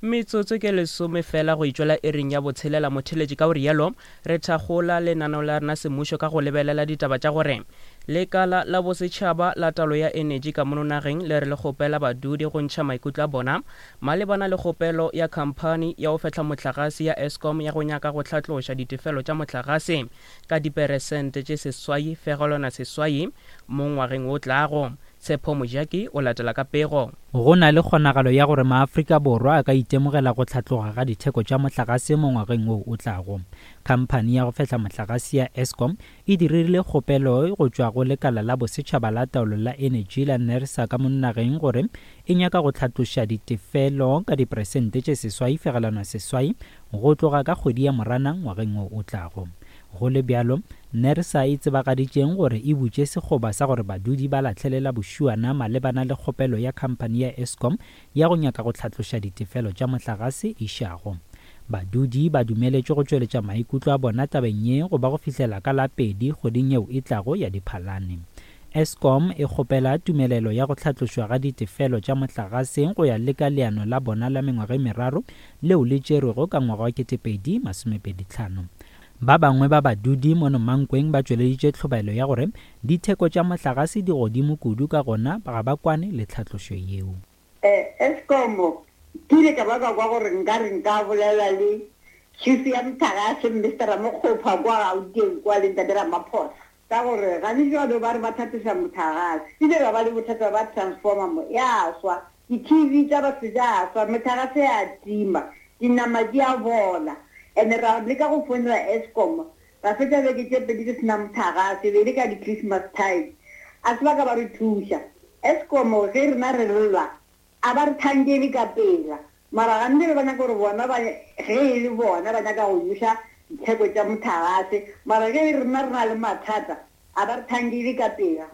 Metsotso ke lesome fela go itšwela iring ya botshelela motheletši ka go rialo re thakgola lenaneo la rena semmušo ka go lebelela ditaba tša gore lekala la bosetšhaba la taolo ya enetši ka mono nageng le re le kgopela badudi go ntšha maikutlo a bona malebana le kgopelo ya khamphani ya go fehla mohlagase ya Eskom ya go nyaka go hlatloša ditefelo tša mohlagase ka diperesente tše 8.8 mo ngwageng wo tlago. Tshepo Mojaki o latela ka pego. Go na le kgonagalo ya gore maAfrika Borwa a ka itemogela go hlatloga ga ditheko tša mohlagase mo ngwageng wo o tlago. Khamphani ya go fehla mohlagase ya Eskom e diririle kgopelo go tšwa go lekala la bosetšhaba la taolo la enetši la NERSA ka mono nageng gore e nyaka go hlatloša ditefelo ka diperesente tše 8.8 go tloga ka kgwedi ya Moranang ngwageng wo o tlago. Go le bjalo, NERSA e tsebagaditšeng gore e butše sekgoba sa gore badudi ba lahlele la bošuana malebana le kgopelo ya khamphani ya Eskom ya go nyaka go hlatloša ditefelo tša mohlagase išago. Badudi ba dumeletšwe go tšweletša maikutlo a bona tabeng ye go ba go fihlela ka la pedi kgweding yeo e tlago ya Diphalane. Eskom e kgopela tumelelo ya go hlatlošwa ga ditefelo tša mohlagase go ya le ka leano la bona la mengwaga e meraro leo le tšerwego ka ngwaga wa 2025. Ba bangwe ba badudi mono Mankweng ba tšweleditše tlhobaelo ya gore ditheko tša mohlagase di godimo kudu ka gona ga ba kwane le tlhatlošo yeo. Eskom, Ke ile ka ba ka kwa gore nkare nka bolela le Chief ya mohlagase Mister Ramokgopa kwa Gauteng kwa le Ntate Ramaphosa ka gore gane jwalo ba re ba tlhatloša mohlagase. Ile ra ba le bothata ba transformer mo ya swa, di-TV tša batho tša swa, mohlagase ya tima, dinama di a bola. And ra leka go founela Eskom ra fetša beke tše pedi re se na mohlagase, e be e le ka di-Christmas time. A se ba ka ba re thuša. Eskom ge rena re lla a ba re thankele ka pela, mara gantši ba nyaka gore bona ba ge e le bona ba nyaka go buša ditheko tša mohlagase, mara ge rena re na le mathata a ba re thankele ka pela.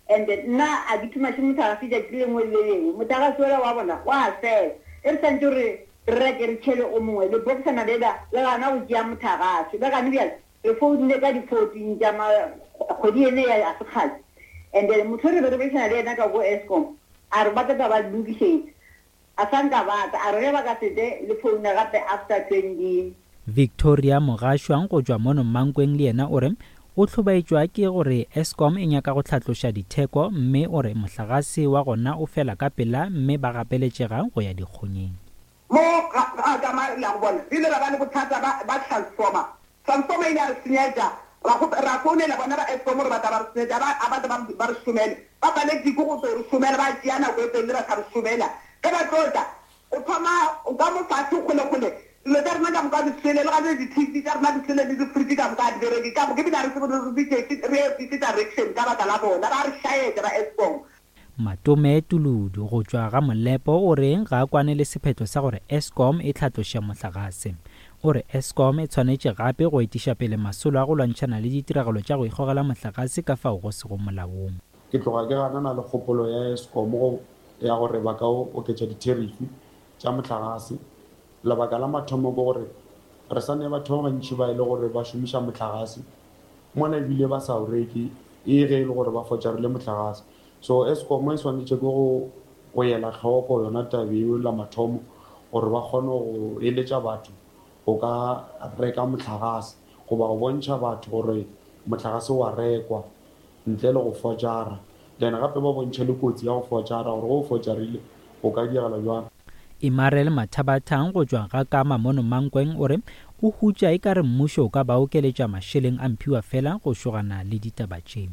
And nna a ke thumaše mohlagase tšatši le lengwe le le lengwe, mohlagase wola wa bona wa fela, ge re swantše gore re reke re tšhele o mongwe, lebokisana lela le gana go tšea mohlagase, le gane bjale re founile ka di 14 tša ma kgwedi ene ya se kgale, and then motho re be re boledišana le yena ka ko Eskom a re ba tla tla ba lokišetša, A sa nka ba tla. A re ge ba ka se tle le foune gape after 20. Victoria Mogašwa go tšwa mono Mankweng le yena o re o hlobaetšwa ke gore Eskom e nyaka go hlatloša ditheko mme o re mohlagase wa gona o fela ka pela mme ba gapeletšega go ya dikgonyeng. Mo ga ga ka ma ya go bona re ile ra ba le bothata ba ba transformer. Transformer e ile ya re senyetša ra kgope ra founela bona ba Eskom gore ba tla ba re senyetša ba a ba tla ba ba re šomele. Ba paletše ke go tlo re šomela ba tšea nako e telele ba sa re šomela. Ge ba tlo tla o thoma ka mo fase kgole kgole dilo tša rena ka moka di swele le ga di TV tša rena di swele le di fridge ka moka ga di bereke ka moka ebile ga re tsebe re bitše re ye dife direction ka baka la bona ba re šaetša ba Eskom. Matome Tuludu go tšwa ga Molepo o re ga a kwane le sephetho sa gore Eskom e hlatloše mohlagase. O re Eskom e tshwanetše gape go etiša pele masolo a go lwantšhana le ditiragalo tša go ikgogela mohlagase ka fao go sego molaong. Ke tloga ke ganana le kgopolo ya Eskom go ya gore ba ka oketša ditherifi tša mohlagase. Lebaka la mathomo ke gore re sa ne batho ba bantši ba e le gore ba šomiša mohlagase mola ebile ba sa o reke e ge e le gore ba fotšarile mohlagase. So Eskom e swanetše ke go go ela hloko yona taba eo la mathomo gore ba kgone go eletša batho go ka reka mohlagase goba go bontšha batho gore mohlagase wa rekwa ntle le go fotšara. Then gape ba bontšhe le kotsi ya go fotšara gore ge o fotšarile go ka diragala bjang. Imarel Mathabathang go tšwa ga Kama mono Mankweng o re o hutša e ka re mmušo o ka ba okeletša mašeleng a mphiwa fela go šogana le ditaba tše.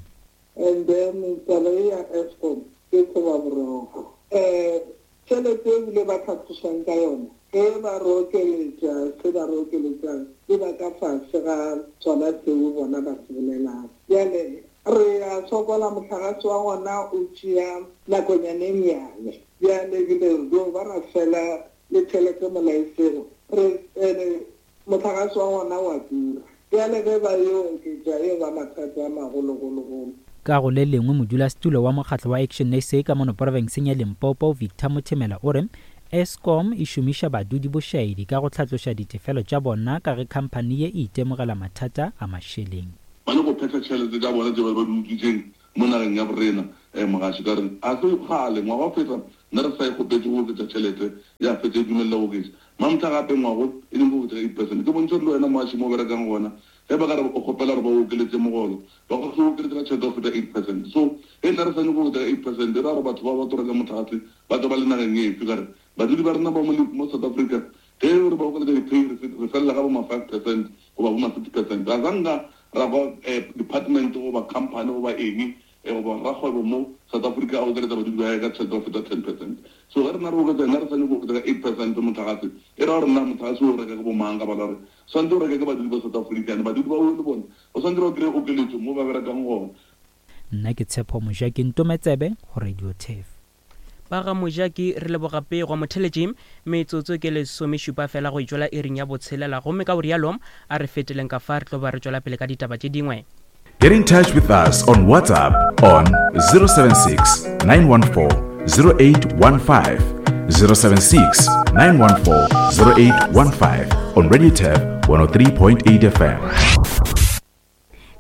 And then taba ye ya Eskom ke tseba boroko. Um tšhelete e bile ba tlhatlošang ka yona ge ba re okeletša se ba re okeletšang e ba ka fase ga sona seo bona ba se bolelang. Bjale re a sokola mohlagase wa gona o tšea nakonyana e nnyane. Bjale ebile re dio ba ra fela le tšhelete molaesego re ene Mohlagase wa gona o a tura. Bjale ge ba yo oketša e ba mathata a magologologolo. Ka go le lengwe, modulasetulo wa mokgatlo wa ActionSA ka mono porofenseng ya Limpopo, Victor Mothemela o re Eskom e šomiša badudi bošaedi ka go hlatloša ditefelo tša bona ka ge khamphani ye e itemogela mathata a mašeleng. Ba nyako phetha tšhelete tša bona tše ba di utswitšeng mo nageng ya borena. Mogaši ka re, A se kgale, ngwaga wa feta. Nna re sa e kgopetše go oketša tšhelete, ya fetša e dumelela go oketša. Mamtha gape ngwago e nyaka go oketša ka 8%. Ke bontšha gore le wena moaši mo o berekang gona, ge ba ka re o kgopela gore ba o okeletše mogolo, ba ka se o okeletše ka tšhelete ya go feta 8%. So ge nna re sa nyake go oketša ka 8%, e ra gore batho ba ba tlo reka mohlagase ba tla ba le nageng efe? Ka re badudi ba rena ba mo mo South Africa ge re ba okeletša di-pay re re felela ka bo ma 5% goba bo ma 6%. Ga sa nka ra kwa department goba company goba eng E goba rakgwebo mo South Africa a okeletsa badudi ba gae ka tšhelete go feta 10%. So ge rena re oketsa, rena re swanetše go oketsa ka 8% mohlagase, e ra gore na mohlagase o reka ke bo mang ka bala gore swanetše go reka ke badudi ba South Africa and badudi bao le bona ba swanetše ba kry-e okeletšo mo ba berekang gona. Nna ke Tshepo Mojaki Ntometsebe go Radio Turf. Ba ga Mojaki re leboga pego. Motheletši, metsotso ke lesomešupa fela go itšwela iring ya botshelela gomme ka go rialo a re feteleng ka fa re tlo ba re tšwela pele ka ditaba tše dingwe. Get in touch with us on WhatsApp on 076 914 0815. 076 914 0815 on Radio Tab 103.8 FM.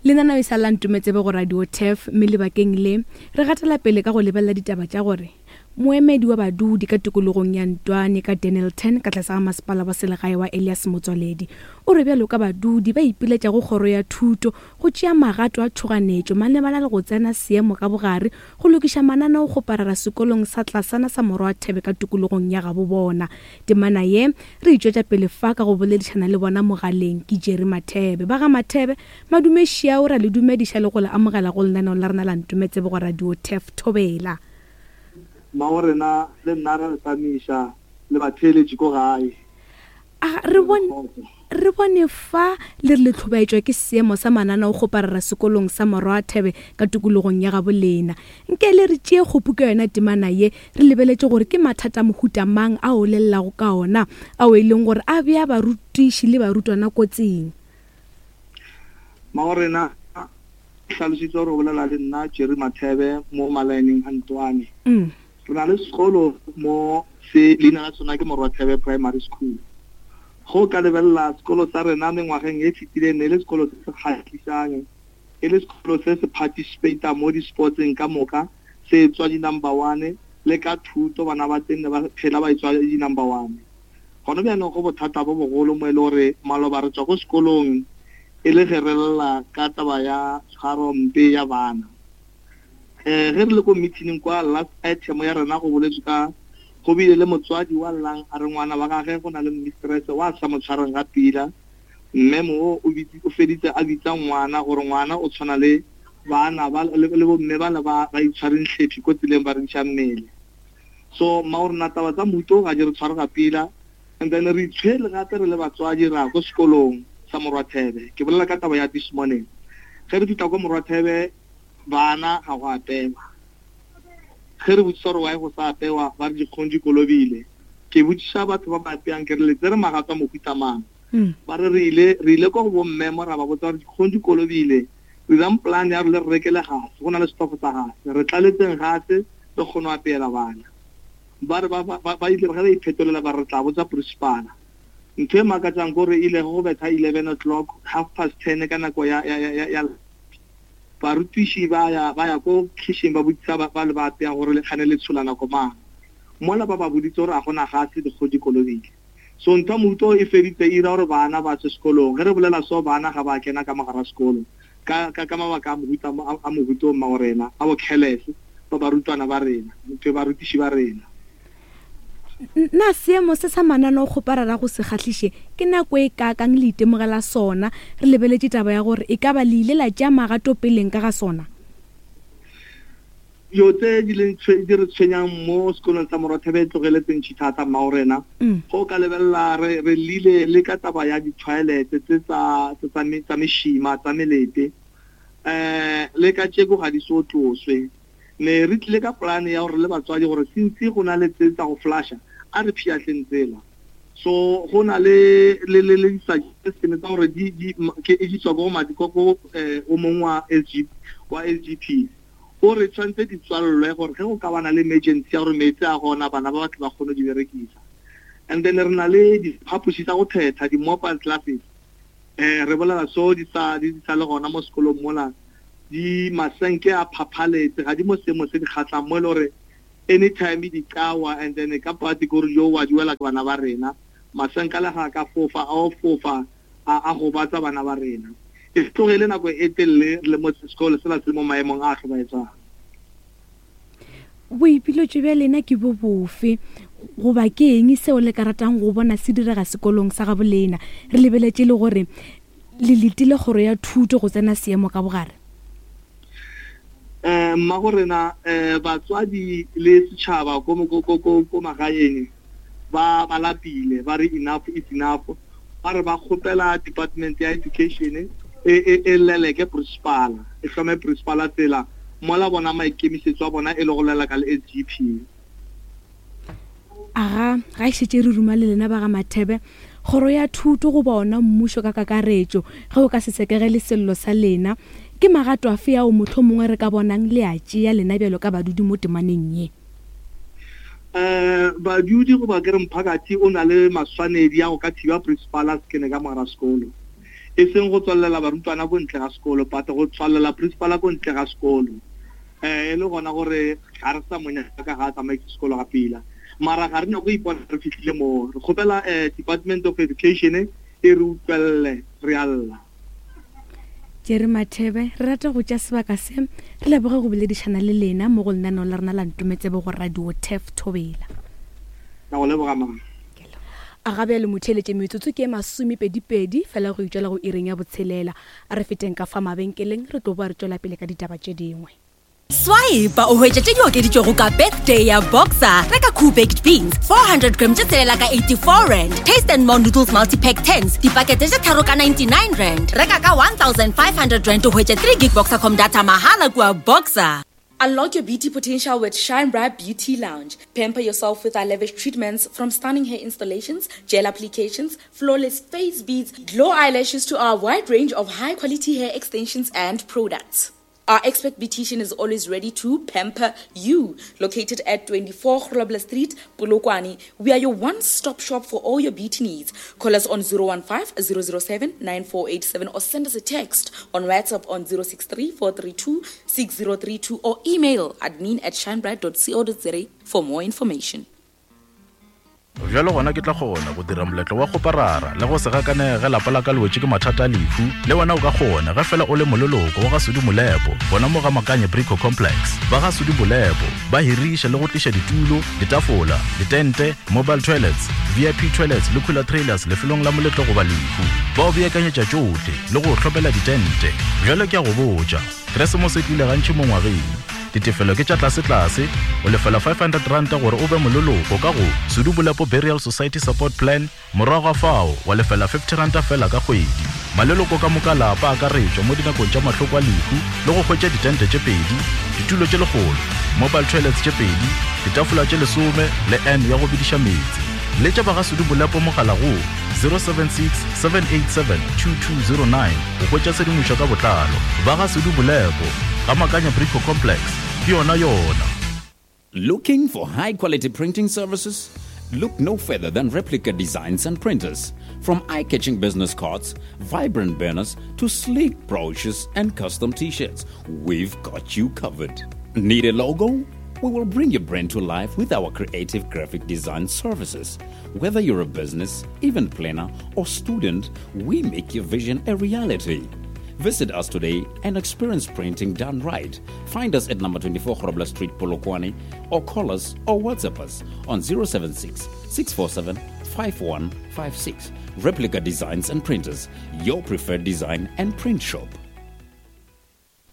Lenaneo e sa la Ntometsebe go Radio Turf mme lebakeng le re gatela pele ka go lebelela ditaba tša gore moemedi wa badudi ka tikologong ya Ntwane ka Dennilton ka tlase ga masepala wa selegae wa Elias Motswaledi o re bjalo ka badudi ba ipiletša go kgoro ya thuto go tšea magato a tšhoganetšo malebana le go tsena seemo ka bogare go lokiša mananeokgoparara sekolong sa tlasana sa Morwathebe ka tikologong ya gabo bona. Temana ye re e tšwetša pele fa ka go boledišana le bona mogaleng ke Jerry Mathebe. Ba ga Mathebe, madume šiao, ra le dumediša le go le amogela go lenaneo la rena la Ntometsebe go Radio Turf Thobela. Mmago rena le nna ra le tamiša le batheeletši ko gae. A re bone, re bone fa le re le hlobaetšwa ke seemo sa mananaokgoparara sekolong sa Morwathebe ka tikologong ya gabo lena. Nke le re tšee kgopu ka yona temana ye, re lebeletše gore ke mathata a mohuta mang ao le llago ka ona, ao e leng gore a bea barutiši le barutwana kotsing. Mmagorena o hlalositše gore o bolela le nna, Jerry Mathebe, mo malaeneng a Ntwane. Re na le sekolo mo se leina la sona ke Morwathebe Primary School. Ge o ka lebelela sekolo sa rena mengwageng e fetileng ne e le sekolo se se kgahlišang, e le sekolo se se participata mo di-sportseng ka moka, se etswa di-number one, le ka thuto bana ba teng ne ba phela ba etswa di-number one. Gona bjanong go bothata bo bogolo mo e le gore maloba re tswa ko sekolong e le ge re lla ka taba ya tshwaro mpe ya bana. Ge re le ko meeting kwa last item ya rena go boletswe ka go bile le motswadi wa llang a re ngwana wa gage go na le mistress wa sa mo tshwareng ga pila mme mo o o feditse a bitsa ngwana gore ngwana o tshwana le bana ba le bo mme ba le ba ba itshwareng hlephi ko tseleng ba rekiša mmele. So mma o rena taba tsa mohuto ga di re tshware ga pila and then re itshwele gape re le batswadi ra ko sekolong sa Morwathebe. Ke bolela ka taba ya this morning. Ge re fihla ko Morwathebe Bana ga go apewa. Ge re botšiša gore why go sa apewa, ba re dikgong di kolobile. Ke botšiša batho ba ba apeang ke re le tsere magato a mohuta mang? Ba re re ile re ile ko go bomme mo ra ba botsa gore dikgong di kolobile, dirang plan ya gore le re rekele gase, go na le setofo sa gase, re tlaletseng gase re kgone go apeela bana. Ba re ba ba ba ile ge ba iphetolela ba re re tla botsa principala. Ntho e makatšang ke gore ile ge go betha eleven o'clock, half past ten ka nako ya ya ya ya Barutiši ba ya, ba ya ko khišing ba botšiša ba, ba le ba apeang gore le kgane le tshola nako mang. Mola ba ba boditse gore a go na gase, dikgo di kolobile. So ntho ya mohuta o e feditse e ira gore bana ba tswe sekolong. Ge re bolela so bana ga ba kena ka mogara sekolo ka, ka, ka mabaka a mohuta, a, a mohuta o mmagorena, a bo careless ba barutwana ba rena, ntho barutiši ba rena. Na seemo se sa mananeo-kgoparara go se kgahliše ke nako e kaakang le itemogela sona, re lebeletše taba ya gore e ka ba le ile la tšea magato peleng ka ga sona? Dilo tse di leng di re tshwenyang mo sekolong sa Morwathebe e tlogeletse ntšhi thata mmagorena. Ge o ka lebelela re re llile le ka taba ya di-toilet tse tsa tsa tsa mešima tsa melete um le ka tšeko ga di so tloswe. Ne re tlile ka polane ya gore le batswadi gore since go na le tse tsa go flasha a re phiahleng tsela. So go na le le le le di-suggestion tsa gore di di ke di tswa ko go ko ko eh, o mongwe wa SG wa SGP o re tshwanetse di tswalelwe gore ge go ka bana le emergency ya gore meetse a gona bana ba batho ba kgone di berekisa. And then re na le diphapoši tsa go thetha di-mobile classes Eh, re bolela so di sa di sa le gona mo sekolong mola, di masenke a phaphaletse, ga di mo seemo se di kgahlang mo e le gore Anytime di ka wa and then ka party ke gore jo wa di wela ke bana ba rena. Masenka le ga a ka fofa a o fofa a a gobatsa bana ba rena. E tloge e le nako e telele re le mo sekolo sela se le mo maemong a a hlobaetšago. Boipiletšo bja lena ke bo bofe goba ke eng seo le ka ratang go bona se direga sekolong sa gabo lena re lebeletše le gore le letile kgoro ya thuto go tsena seemo ka bogare? Um mmago rena um batswadi le setšhaba ko ko ko ko ko magaeng ba ba lapile ba re enough is enough ba re ba kgopela department ya education e e e leleke principal e hlome principal tsela mola bona maikemišetšo a bona e le go leleka le SGP. Aga, ga e šetše re ruma le lena ba ga Mathebe, kgoro ya thuto goba ona mmušo ka kakaretšo, ge o ka se sekegele sello sa lena, ke magato afe ao mohlomongwe re ka bonang le a tšea lena bjalo ka badudi mo temaneng ye? Um badudi goba ke re mphakathi o na le maswanedi a go ka thiba principal a se kene ka mogara sekolo. E seng go tswalela barutwana ko ntle ga sekolo but go tswalela principal ko ntle ga sekolo. Um e le gona gore ga re sa mo nyaka ga a tsamaise sekolo ga pila. Mara ga re nyako ipona re fihlile moo. Re kgopela um Department of Education e re utlwelele, re a lla. Jerry Mathebe, re rata go tša sebaka se re leboge go boledišana le lena mo go lenaneo la rena la Ntometsebe go Radio Turf Thobela. Ka go leboga mama. A ga bjale motheeletše metsotso ke e masomepedipedi fela go itšwela go iring ya botshelela. A re feteng ka fa mabenkeleng re tlo boa re tšwela pele ka ditaba tše dingwe. Swipe o hwetša tše di okeditšwego ka birthday ya Boxer. Reka Cool Baked Beans 400 gram tše tshelela ka 84 rand. Taste and More Noodles Multi-Pack 10s dipakete tše tharo ka 99 rand. Reka ka 1500 rand o hwetše 3 gig Boxercom data mahala kua Boxer. Unlock your beauty potential with Shine Bright Beauty Lounge. Pamper yourself with our lavish treatments from stunning hair installations, gel applications, flawless face beads, glow eyelashes to our wide range of high quality hair extensions and products. Our expert beautician is always ready to pamper you. Located at 24 Grobler Street, Polokwane, we are your one-stop shop for all your beauty needs. Call us on 015 007 9487 or send us a text on WhatsApp on 063 432 6032 or email admin at shinebright.co.za for more information. Bjalo gona ke tla kgona go dira moletlo wa kgoparara le go se gakanege ge lapa la ka le wetše ke mathata a lehu. Le wena o ka kgona ge fela o le moleloko wa ga Sudi Molepo gona mo ga Makanye Brico Complex. Ba ga Sudi Molepo ba hiriša le go tliša ditulo, ditafola, ditente, mobile toilets, VIP toilets le cooler trailers lefelong la moletlo goba lehu. Ba o beakanyetša tšohle le go o hlomela ditente. Bjalo ke a go botša, Keresemose e tlile gantši mo ngwageng. Ditefelo ke tša tlasetlase, o lefela R500 gore o be moleloko ka go Sudu Bolepo Burial Society Support Plan, morago ga fao wa lefela R50 feela ka kgwedi. Maleloko ka moka lapa a akaretšwa mo dinakong tša mahloko a lehu le go hwetša ditente tše pedi, ditulo tše lekgolo, mobile toilets tše pedi, ditafola tše lesome le urn ya go bediša meetse. Letša ba ga Sudu Bolepo mogala go 076 787 2209 go hwetša tshedimošo ka botlalo. Ba ga Sudu Bolepo, ga Makanya Brico Complex, ke yona yona. Looking for high quality printing services? Look no further than Replica Designs and Printers. From eye catching business cards, vibrant banners, to sleek brochures and custom t shirts, we've got you covered. Need a logo? We will bring your brand to life with our creative graphic design services. Whether you're a business, event planner, or student, we make your vision a reality. Visit us today and experience printing done right. Find us at number 24 Grobler Street, Polokwane, or call us or WhatsApp us on 076 647 5156. Replica Designs and Printers, your preferred design and print shop.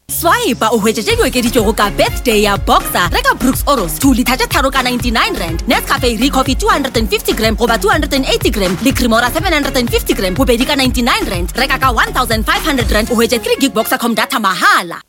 Swipe o hwetše tše di okeditšwego ka birthday ya Boxer. Reka Brooks Oros 2 litha tše tharo ka 99 rand, Nescafe Recoffee 250 gram goba 280 gram le Cremora 750 gram bobedi ka 99 rand. Reka ka 1500 rand o hwetše 3 gig Boxercom data mahala.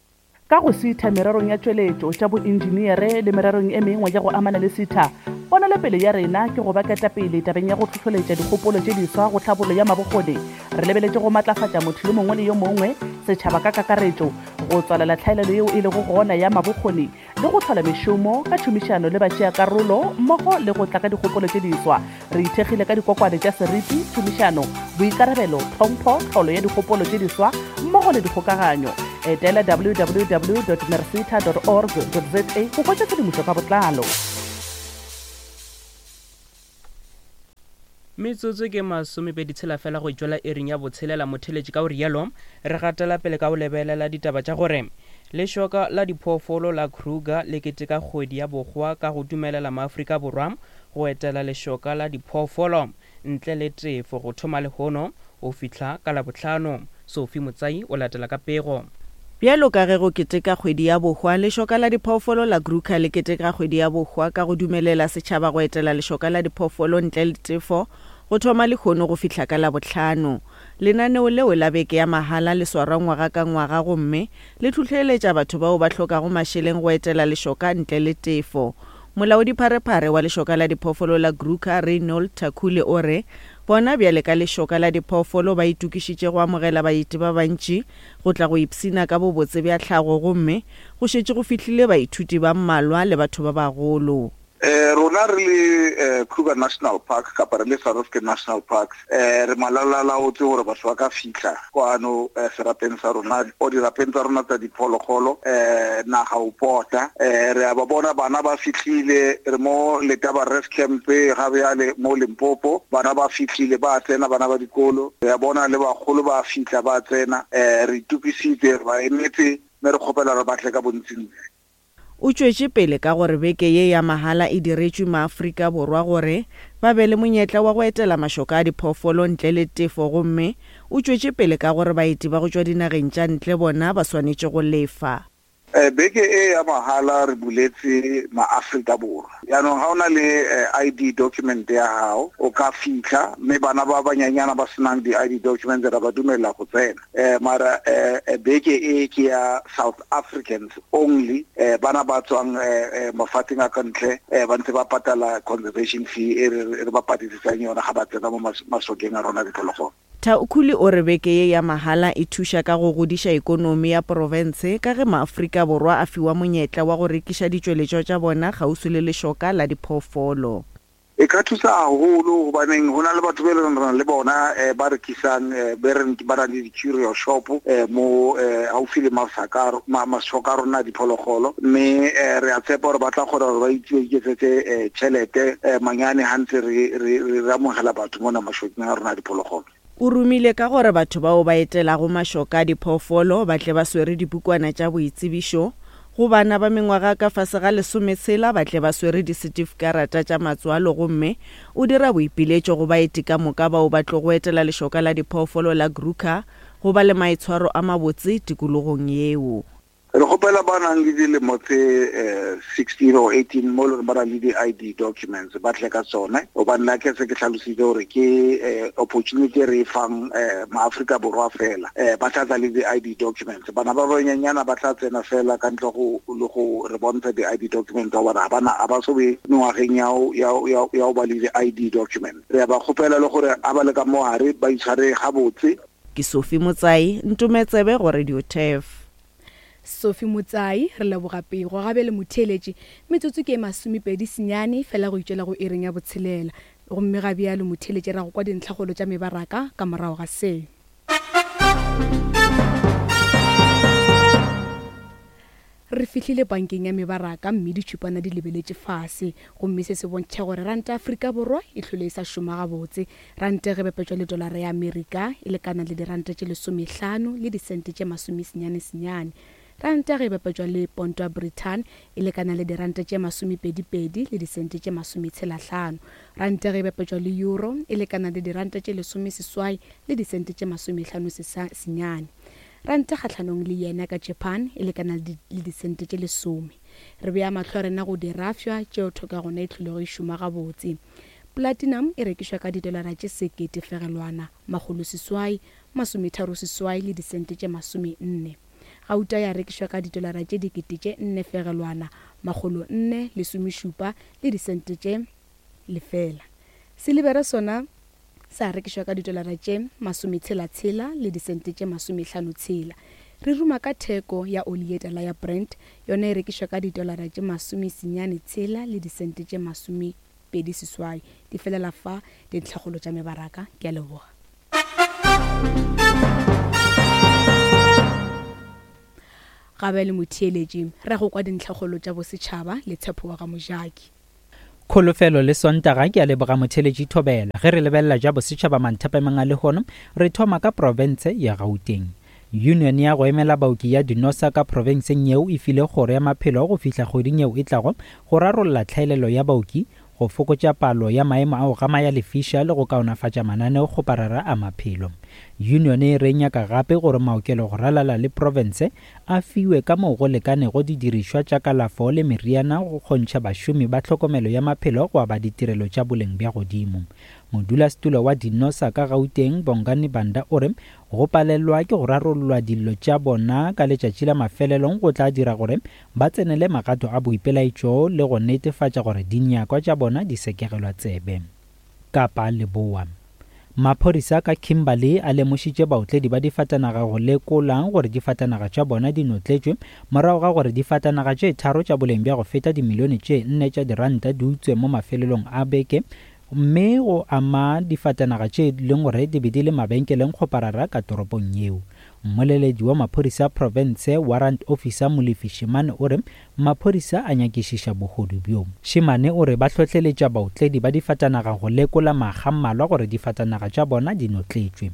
Ka go sitha mererong ya tšweletšo, tša boentšeneere le mererong e mengwe ya go amana le sitha, ponelopele ya rena ke go ba ketapele tabeng ya go hlohloletša dikgopolo tše diswa go tlhabollo ya mabokgoni Re lebeletše go matlafatša motho yo mongwe le yo mongwe, setšhaba ka kakaretšo, go tswalela tlhaelelo yeo e lego gona ya mabokgoni le go hlola mešomo ka tšhomišano le batšeakarolo mmogo le go tla ka dikgopolo tše diswa. Re ithekgile ka dikokwane tša seriti, tšhomišano, boikarabelo, tlhompho, tlholo ya dikgopolo tše diswa mmogo le dikgokaganyo. Etela www.mercita.org.za go hwetša tshedimošo ka botlalo. Metsotso ke masomepeditshela fela go tšwela iring ya botshelela motheletši ka go rialo re gatela pele ka go lebelela ditaba tša gore lešoka la diphoofolo la Kruger le keteka kgwedi ya bohwa ka go dumelela maAfrika Borwa go etela lešoka la diphoofolo ntle le tefo go thoma lehono go fihla ka Labohlano. Sophie Motsai o latela ka pego. Bjalo ka ge go keteka Kgwedi ya Bohwa, Lešoka la Diphoofolo la Kruger le keteka Kgwedi ya Bohwa ka go dumelela setšhaba go etela lešoka la diphoofolo ntle le tefo go thoma lehono go fihla ka Labohlano. Lenaneo leo la beke ya mahala le swarwa ngwaga ka ngwaga gomme le hlohleletša batho bao ba hlokago mašeleng go etela lešoka ntle le tefo. Molaodipharephare wa Lešoka la Diphoofolo la Kruger, Reynold Thakule o re bona bjale ka lešoka la diphoofolo ba itokišitše go amogela baeti ba bantši go tla go ipshina ka bobotse bja tlhago gomme go šetše go fihlile baithuti ba mmalwa le batho ba bagolo. Rona re le Kruger National Park kapa re le South African National Parks re malalalaotse gore batho ba ka fihla kwano serapeng sa rona or dirapeng tsa rona tsa diphologolo naga o pota. Re a ba bona bana ba fihlile, re mo Letaba Rest Camp ga bjale mo Limpopo, bana ba fihlile ba tsena, bana ba dikolo. Re a bona le bagolo ba fihla ba tsena. Re itokisitse, re ba emetse mme re kgopela gore ba tle ka bontsintsi. O tšwetše pele ka gore beke ye ya mahala e diretšwe maAfrika Borwa gore ba be le monyetla wa go etela mašoka a diphoofolo ntle le tefo gomme o tšwetše pele ka gore baeti ba go tšwa dinageng tša ntle bona ba swanetše go lefa. Beke e ya mahala re buletse maAfrika Borwa. Jaanong ga o na le ID document ya gago o ka fitlha, mme bana ba banyanyana ba senang di-ID documents ra ba dumelela go tsena. Eh, mara eh, eh, beke e ke ya South Africans only, eh, bana ba tswang eh, eh, mafatsheng a ka ntle eh, ba ntse ba patala conservation fee e re re ba patedisang yona ga ba tsena mo masokeng a rona diphologolo. Thaukhuli o re beke ye ya mahala e thuša ka go godiša ikonomi ya profense ka ge maAfrika Borwa a fiwa monyetla wa go rekiša ditšweletšwa tša bona kgauswi le lešoka la diphoofolo. E ka thusa haholo hobaneng ho na le batho be leng re na le bona eh, ba rekisang eh, be reng ba na le di-curio shop eh, mo eh, haufi le masaka ma, masoka a rona a diphologolo mme eh, re a tshepa gore ba tla kgona gore ba iketsetse eh, tšhelete eh, manyane ha ntse re, re, re, re amogela batho mona mashokeng a rona a diphologolo. O rumile ka gore batho bao ba etelago mašoka a diphoofolo ba tle ba swere dipukwana tša boitsebišo, go bana ba mengwaga ka fase ga lesometshela ba tle ba swere disetifikarata tša matswalo gomme o dira boipiletšo go baeti ka moka bao ba tlogo etela lešoka la diphoofolo la Kruger go ba le maitshwaro a mabotse tikologong yeo. Re kgopela ba nang le dilemo tse 16 or 18 mo e leng ba na le di-I_D documents ba tle ka tsone, gobane la ke se ke hlalositse gore ke opportunity e re e fang maAfrika Borwa fela. Ba tla tla le di-I_D documents, bana ba banyenyana ba tla tsena fela ka ntle go le go re bontsha di-I_D documents gobane ga bana ga ba so be mengwageng ya go ba le di-I_D document. Re a ba kgopela le gore ga ba le ka mo gare ba itshware gabotse. Ke Sophie Motsai, Ntometsebe go Radio Turf. Sophie Motsai, re leboga pego. Ga bjale motheeletši, metsotso ke e masomepedi senyane fela go itšwela go iring ya botshelela. Gomme ga bjalo motheeletši ra go kwa dintlhakgolo tša mebaraka ka morago ga se. Re fihlile bankeng ya mebaraka mme ditšhupana di lebeletše fase, gomme se se bontšha gore ranta ya Afrika Borwa e hlwele e sa šoma gabotse. Ranta ge bapetšwa le dolara ya Amerika e lekana le diranta tše lesomehlano le disente tše masomesenyane senyane. Ranta ge e bapetšwa le ponto ya Britain e lekana le diranta tše masomepedipedi le disente tše masometshelahlano. Ranta ge e bapetšwa le euro e lekana le diranta tše lesomeseswai le disente tše masomehlano senyane. Ranta kgahlanong le yena ka Japan e lekana le disente tše lesome. Re bea mahlo a rena go dirafša tšeo thoko ya gona e hlolego e šoma gabotse. Platinum e rekišwa ka didolara tše sekete fegelwana makgoloseswai masometharoseswai le disente tše masomenne. Gauta ya rekišwa ka didolara tše dikete tše nne fegelwana makgolonne lesomešupa le disente tše lefela. Silibere sona sa rekišwa ka didolara tše masometshela-tshela le disente tše masomehlano-tshela. Re ruma ka theko ya oli ye tala ya Brent, yona e rekišwa ka didolara tše masomesenyane-tshela le disente tše masomepedi-seswai. Di felela fa dintlhakgolo tša mebaraka. Ke a leboga. Ga bjale motheeletši, re ya go kwa dintlhakgolo tša bosetšhaba le Tshepo wa ga Mojaki. Kholofelo le Sontaga ke a leboga motheletši Thobela. Ge re lebelela ja bosetšhaba manthapemeng a lehono, re thoma ka profense ya Gauteng. Union ya go emela baoki ya Dinosa ka profenseng yeo e file kgoro ya maphelo go fihla kgweding yeo e tlago go rarolla tlhaelelo ya baoki, go fokotša palo ya maemo a go gama ya lefiša le go kaonafatša mananeokgoparara a maphelo. Union e re e nyaka gape gore maokelo go ralala le profense a fiwe ka moo go lekanego didirišwa tša kalafo le meriana go kgontšha bašomi ba tlhokomelo ya maphelo go aba ditirelo tša boleng bja godimo. Modulasetulo wa Dinosa ka Gauteng, Bongani Banda o re go palelwa ke go rarollwa dillo tša bona ka letšatši la mafelelong go tla dira gore ba tsenele magato a boipelaetšo le go netefatša gore dinyakwa tša bona di sekegelwa tsebe. Kapa Leboa. Maphodisa ka Kimberley a lemošitše baotledi ba difatanaga go lekola gore difatanaga tša bona di notletšwe morago ga gore difatanaga tše tharo tša boleng bja go feta dimilione tše nne tša diranta di utswe mo mafelelong a beke mme go ama difatanaga tše leng gore di be di le mabenkeleng kgoparara ka toropong yeo. Mmoleledi wa maphodisa a profense, Warrant Officer Molefi Shimane o re maphodisa a nyakišiša bohodu bjo. Shimane o re ba hlohleletša baotledi ba difatanaga go lekola makga mmalwa gore difatanaga tša bona di notletšwe.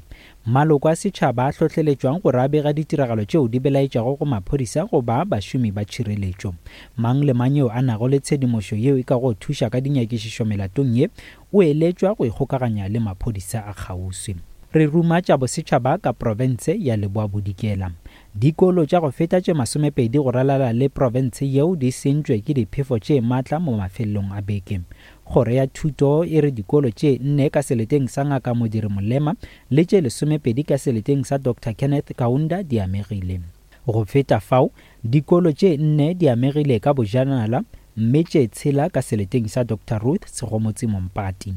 Maloko a setšhaba a hlohleletšwang gore a bega ditiragalo tšeo di belaetšago go maphodisa goba bašomi ba tšhireletšo. Mang le mang yo a nago le tshedimošo yeo e kago thuša ka dinyakišišo melatong ye o eletšwa go ikgokaganya le maphodisa a kgauswi. Re ruma tša bosetšhaba ka profense ya Leboa-Bodikela. Dikolo tša go feta tše masomepedi go ralala le profense yeo di sentšwe ke diphefo tše matla mo mafelelong a beke. Kgoro ya Thuto e re dikolo tše nne ka seleteng sa Ngaka Modiri Molema le tše lesomepedi ka seleteng sa Doctor Kenneth Kaunda di amegile. Go feta fao, dikolo tše nne di amegile ka bojanala mme tše tshela ka seleteng sa Doctor Ruth Segomotsi Mompati.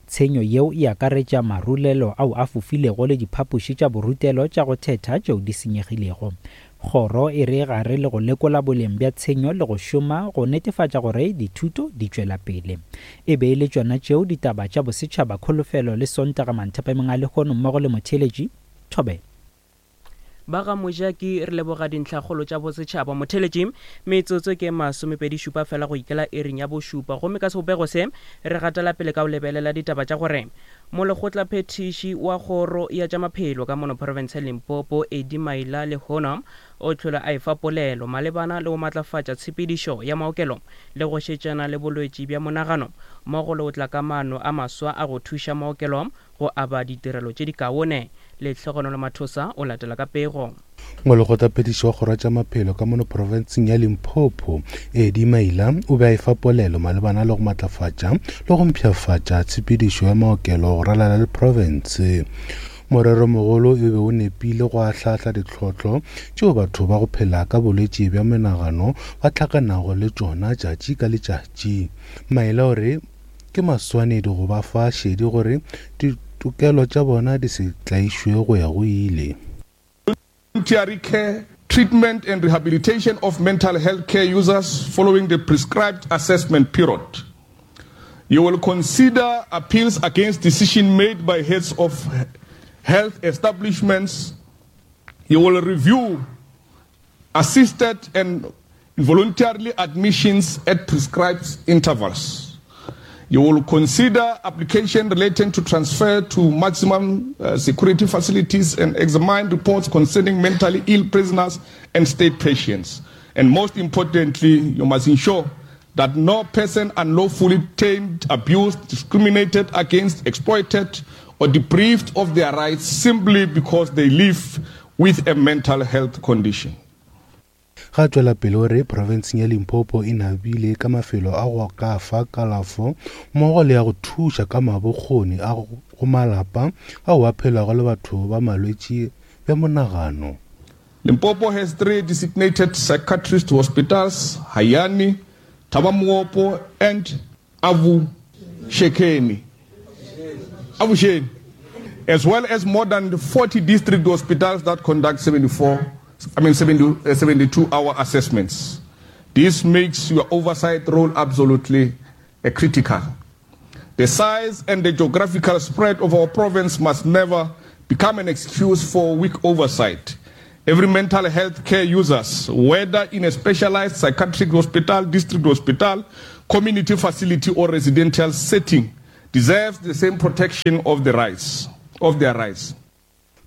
Tshenyo yeo e akaretša marulelo ao a fofilego le diphapoši tša borutelo tša go thetha tšeo di senyegilego. Kgoro e re gare le go lekola boleng bja tshenyo le go šoma go netefatša gore dithuto di tšwela pele. E be e le tšona tšeo ditaba tša bosetšhaba Kholofelo le Sontaga Manthapameng a lehono mmogo le motheeletši Thobela. Ba ga Mojaki re leboga dintlhakgolo tša bosetšhaba. Motheeletši, metsotso ke masomepedi-šupa fela go ikela iring ya bošupa. Gomme ka sebopego se, re gatela pele ka go lebelela ditaba tša gore Molekgotlaphethiši wa Kgoro ya tša Maphelo ka mono profense ya Limpopo, Eddie Maila lehono o hlole a efa polelo malebana le go matlafatša tshepedišo ya maokelo le go šetšana le bolwetši bja monagano mmogo le go tla ka maano a maswa a go thuša maokelo go aba ditirelo tše dikaone. Lehlogonolo Mathosa o latela ka pego. Molekgotlaphethiši wa Kgoro ya tša Maphelo ka mono profenseng ya Limpopo, Eddie Maila, o be a efa polelo malebana le go matlafatša le go mpshafatša tshepedišo ya maokelo go ralala le profense. Moreromogolo e be o nepile go ahlaahla ditlhohlo tšeo batho ba go phela ka bolwetši bja menagano ba hlakanago le tšona tšatši ka letšatši. Maila o re Ke maswanedi go ba fa šedi gore ditokelo tša bona di se tlaišwe go ya go ile. Voluntary care, treatment and rehabilitation of mental health care users following the prescribed assessment period. You will consider appeals against decision made by heads of health establishments. You will review assisted and involuntarily admissions at prescribed intervals. You will consider application relating to transfer to maximum uh, security facilities and examine reports concerning mentally ill prisoners and state patients. And most importantly, you must ensure that no person unlawfully detained, abused, discriminated against, exploited, or deprived of their rights simply because they live with a mental health condition. Ga tšwela pele o re profenseng ya Limpopo e nabile ka mafelo a go ka fa kalafo mmogo le ya go thuša ka mabokgoni a go malapa ao a phelago le batho ba malwetši bja monagano. Limpopo has three designated psychiatrist hospitals, Hayani, Thabamuopo and Avuxeni, Avuxeni, as well as more than 40 district hospitals that conduct 74, I mean 70, 72 hour assessments. This makes your oversight role absolutely uh, critical. The size and the geographical spread of our province must never become an excuse for weak oversight. Every mental health care users, whether in a specialized psychiatric hospital, district hospital, community facility or residential setting deserves the same protection of the rights of their rights.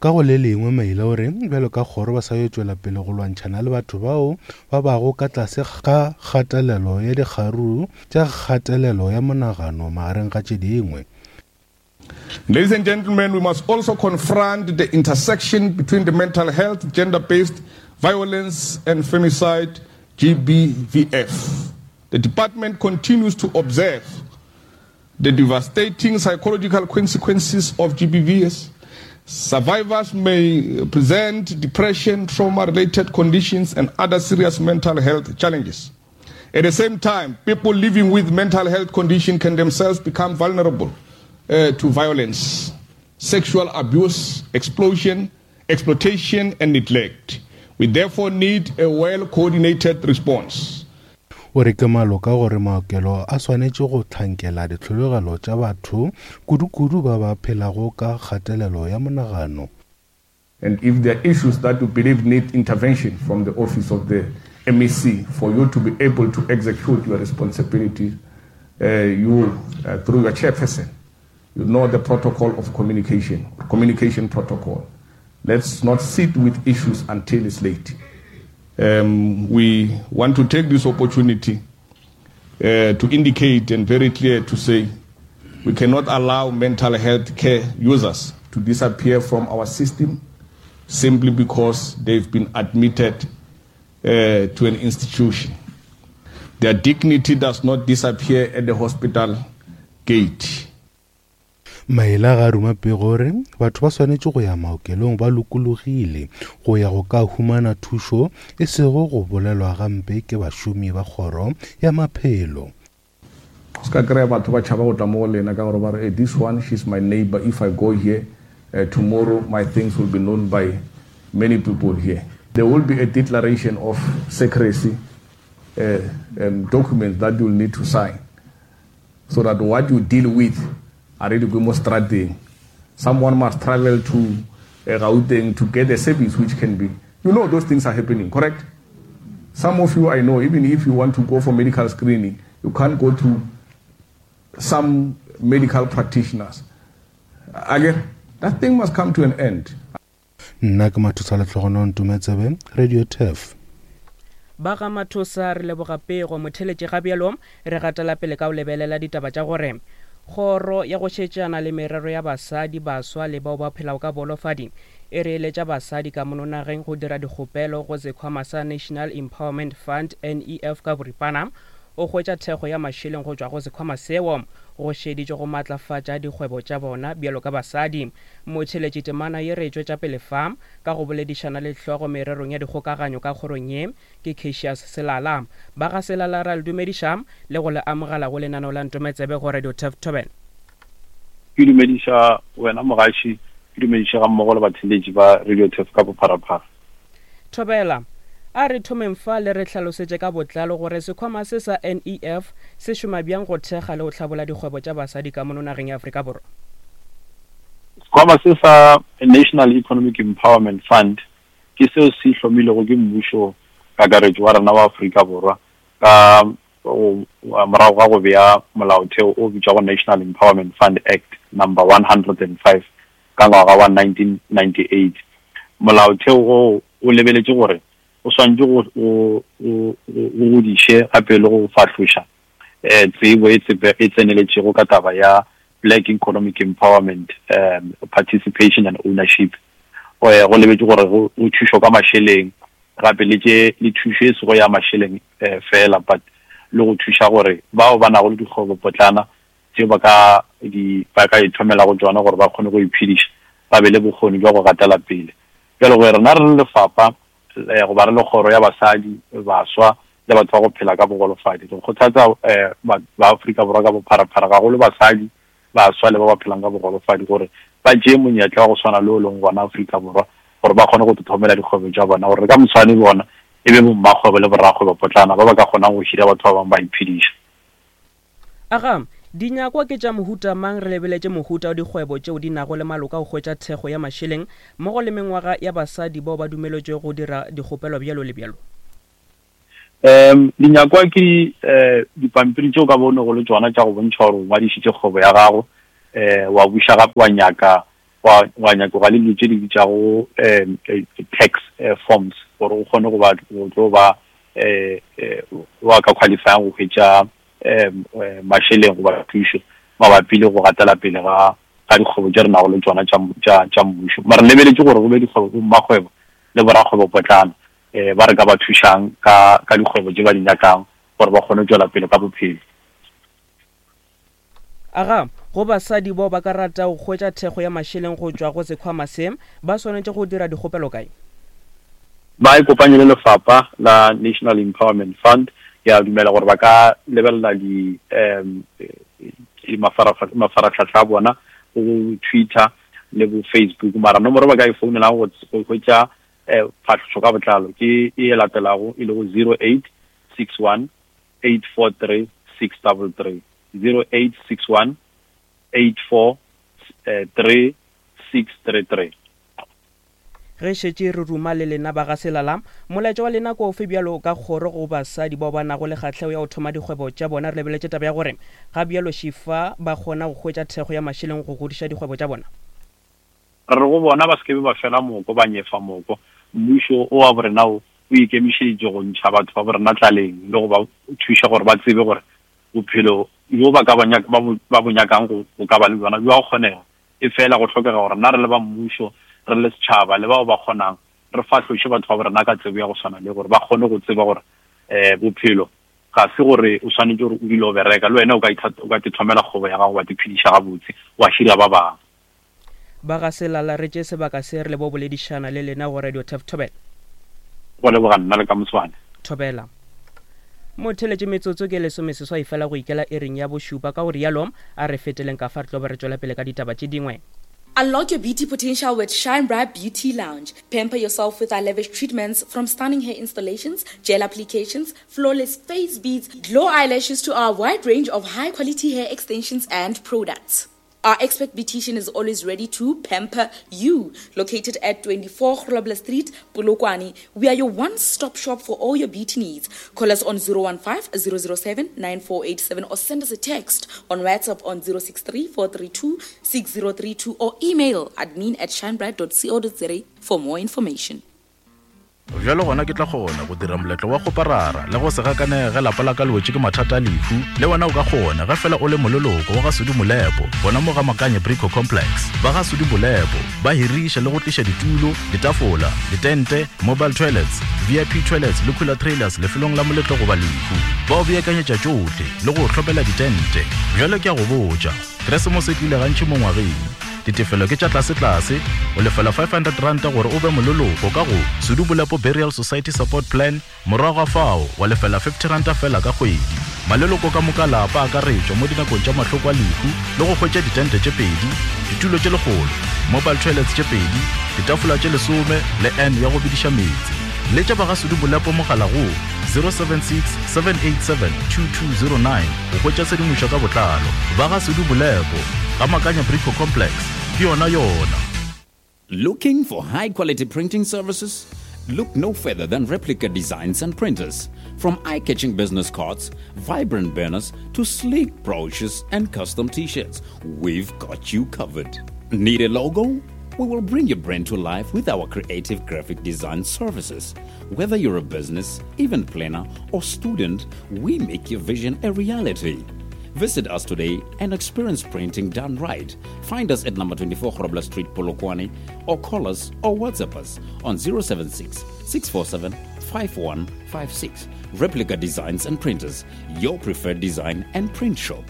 Ka go le lengwe, Maila o re bjalo ka kgoro ba sa yo tšwela pele go lwantšhana le batho bao ba bago ka tlase ga kgatelelo ya dikgaruru tša kgatelelo ya monagano magareng ga tše dingwe. Ladies and gentlemen, we must also confront the intersection between the mental health, gender-based violence and femicide, GBVF. The department continues to observe the devastating psychological consequences of GBVS. Survivors may present depression, trauma-related conditions, and other serious mental health challenges. At the same time, people living with mental health conditions can themselves become vulnerable uh, to violence, sexual abuse, explosion, exploitation, and neglect. We therefore need a well-coordinated response. O re ke maloka gore maokelo a swanetše go hlankela ditlhologelo tša batho, kudu-kudu ba ba phelago ka kgatelelo ya monagano. And if there are issues that you believe need intervention from the office of the MEC for you to be able to execute your responsibility, uh, you, uh, through your chairperson, you know the protocol of communication, communication protocol. Let's not sit with issues until it's late. Um, we want to take this opportunity uh, to indicate and very clear to say we cannot allow mental health care users to disappear from our system simply because they've been admitted uh, to an institution. Their dignity does not disappear at the hospital gate. Maele ga a ruma pego gore batho ba swanetše go ya maokelong ba lokologile go ya go ka humana thušo e sego go bolelwa gampe ke bašomi ba kgoro ya maphelo. Se ka kry-a batho ba tšhaba go tla mo go lena ka gore ba re, hey, this one, she's my neighbor. If I go here, uh, tomorrow my things will be known by many people here. There will be a declaration of secrecy uh, um, documents that you'll need to sign so that what you deal with are really mo strateng. Someone must travel to uh, Gauteng to get a service which can be. You know those things are happening, correct? Some of you I know, even if you want to go for medical screening, you can't go to some medical practitioners. Again, that thing must come to an end. Nna ke Mathosa Lehlogono Ntometsebe, Radio Turf. Ba ga Mathosa re leboga pego. Motheletši ga bjalo re gatela pele ka go lebelela ditaba tša gore Kgoro ya go šetšana le merero ya basadi, baswa le bao ba phelago ka boholofadi e re eletša basadi ka mono nageng go dira dikgopelo go sekhwama sa National Empowerment Fund, NEF ka boripana, o hwetša thekgo ya mašeleng go tšwa go sekhwama seo go šeditšwe go matlafatša dikgwebo tša bona bjalo ka basadi. Motheeletši temana ye re e tšwetša pele fa ka go boledišana le hlogo mererong ya dikgokaganyo ka kgorong ye ke Cassius Selala. Ba ga Selala ra le dumediša le go le amogela go lenaneo la Ntometsebe go Radio Turf Thobela. Ke dumediša wena mogaši, ke dumediše ga mmogo le batheeletši ba Radio Turf ka bopharaphara. Thobela, A re thomeng fa le re hlalosetše ka botlalo gore sekhwama se sa NEF se šoma bjang go thekga le go hlabola dikgwebo tša basadi ka mono nageng ya Afrika Borwa. Sekhwama se sa National Economic Empowerment Fund ke seo se hlomilwego ke mmušo kakaretšo wa rena wa Afrika Borwa ka morago ga go bea molaotheo o bitšwago National Empowerment Fund Act Number 105 ka ngwaga wa 1998. Molaotheo wo o lebeletše gore o swanetše go go go go godiše gape le go fahloša um tsebo e e tseneletšego ka taba ya Black Economic Empowerment um Participation and Ownership. Go lebetše gore go thušo ka mašeleng gape le tše le thušo e sego ya mašeleng um fela but le go thuša gore bao ba nago le dikgwebo potlana tšeo ba ka di ba ka ithomelago tšona gore ba kgone go iphediša, ba be le bokgoni bja go gatela pele. Bjalo ge rena re le lefapha eh, goba re le kgoro ya basadi, baswa le batho ba go phela ka bogolofadi, re kgothatsa eh, ba Afrika Borwa ka bopharaphara, gagolo basadi, baswa le ba ba phelang ka bogolofadi gore ba tšee monyetla wa go swana le o leng gona Afrika Borwa gore ba kgone go thomela dikgwebo tša bona gore ka moswane bona e be bommakgwebo le borakgwebo potlana ba ba ka kgonang go hira batho ba bangwe ba iphediša. Aga, dinyakwa ke tša mohuta mang re lebeletše mohuta wa dikgwebo tšeo di nago le maloka go hwetša thekgo ya mašeleng mmogo le mengwaga ya basadi bao ba dumeletšwego go dira dikgopelo bjalo le bjalo? Um dinyakwa ke um dipampiri tše o ka bo o nego le tšona tša go bontšha gore o ngwadišitše kgwebo ya gago, um wa buša gape wa nyaka wa wa nyakoga le dilo tše di bitšago um tax forms gore o kgone go ba go tlo ba um wa ka qualifyang go hwetša um mašeleng goba thušo mabapi le go gatela pele ga ga dikgwebo tše re nago le tšona tša tša tša mmušo. Mara re lebeletše gore go be dikgwebo bo mmakgwebo le borakgwebopotlana um ba re ka ba thušang ka ka dikgwebo tše ba di nyakang gore ba kgone go tšwela pele ka bophelo. Aga, go basadi bao ba ka ratago go hwetša thekgo ya mašeleng go tšwa go sekhwama se, ba swanetše go dira dikgopelo kae? Ba ikopanye le lefapha la National Empowerment Fund. Ke a dumela gore ba ka lebelela di um mafarahlahla a bona go Twitter le bo Facebook. Mara nomoro ba ka e founelang go hwetša um phahlošo ka botlalo ke e latelago e lego 0861 843 633. 0861 843 633. Ge šetše re ruma le lena ba ga Selala, molaetša wa lena ke ofe bjalo ka kgoro go basadi bao ba nago le kgahlego ya go thoma dikgwebo tša bona re lebeletše taba ya gore ga bjalo šifa ba kgona go hwetša thekgo ya mašeleng go godiša dikgwebo tša bona? Re re go bona ba se ke be ba fela moko, ba nyefa moko. Mmušo o wa borena wo o ikemišeditše go ntšha batho ba borena tlaleng le go ba thuša gore ba tsebe gore bophelo bjo ba ka ba ba bo, ba bo nyakang go, go ka ba le bjona bjo a kgonega. Efela go hlokega gore rena re le ba mmušo, re le setšhaba le bao ba kgonang, re fahloše batho ba borena ka tsebo ya go swana le gore ba kgone go tseba gore um bophelo ga se gore o swanetše gore o dule o bereka, le wena o ka o ka tithomela kgwebo ya gago wa tiphediša gabotse, wa hira ba bangwe. Ba ga Selala re tše sebaka se re le bo boledišana le lena go Radio Turf Thobela. Go leboga nna le ka moswane. Thobela. Motheletše metsotso ke lesomeseswai fela go ikela iring ya bošupa ka go rialo a re feteleng ka fa re tlo be re tšwela pele ka ditaba tše dingwe. Unlock your beauty potential with Shine Bright Beauty Lounge. Pamper yourself with our lavish treatments from stunning hair installations, gel applications, flawless face beads, glow eyelashes to our wide range of high quality hair extensions and products. Our expert beautician is always ready to pamper you. Located at 24 Grobler Street, Polokwane, we are your one-stop shop for all your beauty needs. Call us on 015 007 9487 or send us a text on WhatsApp on 063 432 6032 or email admin at shinebright.co.za for more information. Bjalo gona ke tla kgona go dira moletlo wa kgoparara le go se gakanege ge lapa la ka le wetše ke mathata a lehu. Le wena o ka kgona ge fela o le moleloko wa ga Sudi Molepo gona mo ga Makanye Brico Complex. Ba ga Sudi Molepo ba hiriša le go tliša ditulo, ditafola, ditente, mobile toilets, VIP toilets le cooler trailers lefelong la moletlo goba lehu. Ba o beakanyetša tšohle le go o hlopela ditente. Bjalo ke a go botša, Keresemose e tlile gantši mo ngwageng. Ditefelo ke tša tlasetlase, o lefela R500 gore o be moleloko ka go Sudu Bolepo Burial Society Support Plan, morago ga fao wa lefela R50 feela ka kgwedi. Maleloko ka moka lapa a akaretšwa mo dinakong tša mahloko a lehu le go hwetša ditente tše pedi, ditulo tše lekgolo, mobile toilets tše pedi, ditafola tše lesome le urn ya go bediša meetse. Letša ba ga Sudu Bolepo mogala go 076 787 2209 go hwetša tshedimošo ka botlalo. Ba ga Sudu Bolepo, ga Makanya Brico Complex, ke yona yona. Looking for high quality printing services? Look no further than Replica Designs and Printers. From eye catching business cards, vibrant banners, to sleek brochures and custom t shirts, we've got you covered. Need a logo? We will bring your brand to life with our creative graphic design services. Whether you're a business, event planner, or student, we make your vision a reality. Visit us today and experience printing done right. Find us at number 24 Grobler Street, Polokwane, or call us or WhatsApp us on 076 647 5156. Replica Designs and Printers, your preferred design and print shop.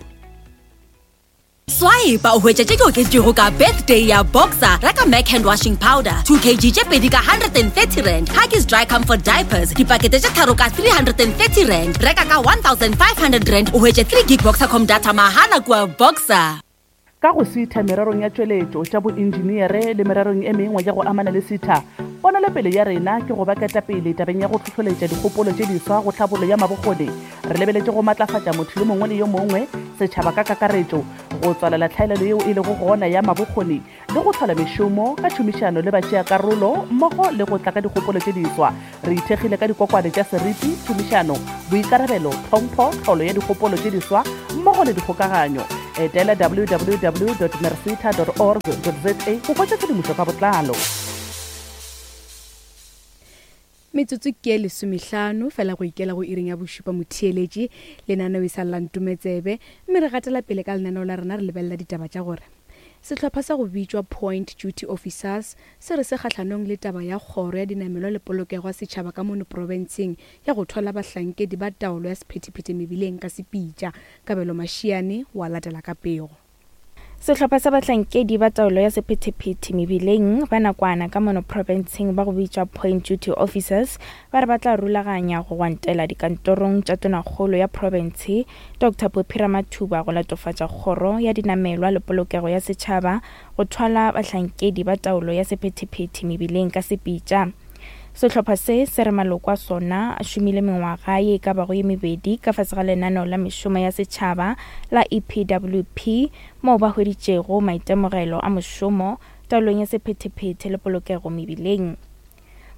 Swipe o hwetša tše di oketšwego ka birthday ya Boxer. Reka Mac hand washing powder 2 kg tše pedi ka 130 rand, Huggies dry comfort diapers dipakete tše tharo ka 330 rand. Reka ka 1500 rand o hwetše 3 gig Boxercom data mahala kua Boxer. Ka go sitha mererong ya tšweletšo, tša boinjiniere le mererong e mengwe ya go amana le sitha, ponelopele ya rena ke go ba ketapele tabeng ya go hlohloletša dikgopolo tše diswa go tlhabollo ya mabokgoni Re lebeletše go matlafatša motho yo mongwe le yo mongwe, setšhaba ka kakaretšo, go tswalela tlhaelelo yeo e lego gona ya mabokgoni le go hlola mešomo ka tšhomišano le batšeakarolo mmogo le go tla ka dikgopolo tše diswa. Re ithekgile ka dikokwane tša seriti, tšhomišano, boikarabelo, tlhompho, tlholo ya dikgopolo tše diswa mmogo le dikgokaganyo. Etela www.mercita.org.za go hwetša tshedimošo ka botlalo. Metsotso ke e lesomehlano fela go ikela go iring ya bošupa motheeletši. Lenaneo e sa lla ntometsebe mme re gatela pele ka lenaneo la rena re lebelela ditaba tša gore sehlopha sa go bitšwa Point Duty Officers se re se kgahlanong le taba ya kgoro ya dinamelwa le polokego ya setšhaba ka mono profenseng ya go thwala bahlankedi ba taolo ya sephethephethe mebileng ka sepitša. Kabelo Mashiane wa latela ka pego. Sehlopha sa bahlankedi ba taolo ya sephethephethe mebileng ba nakwana ka mono profenseng ba go bitšwa Point Duty Officers ba re ba tla rulaganya go gwantela dikantorong tša Tonakgolo ya profense Doctor Phophi Ramathuba go latofatša kgoro ya dinamelwa le polokego ya setšhaba go thwala bahlankedi ba taolo ya sephethephethe mebileng ka sepitša. Sehlopha se se re maloko a sona a šomile mengwaga ye e ka bago ye mebedi ka fase ga lenaneo la mešomo ya setšhaba la EPWP moo ba hweditšego maitemogelo a mošomo taolong ya sephethephethe le polokego mebileng.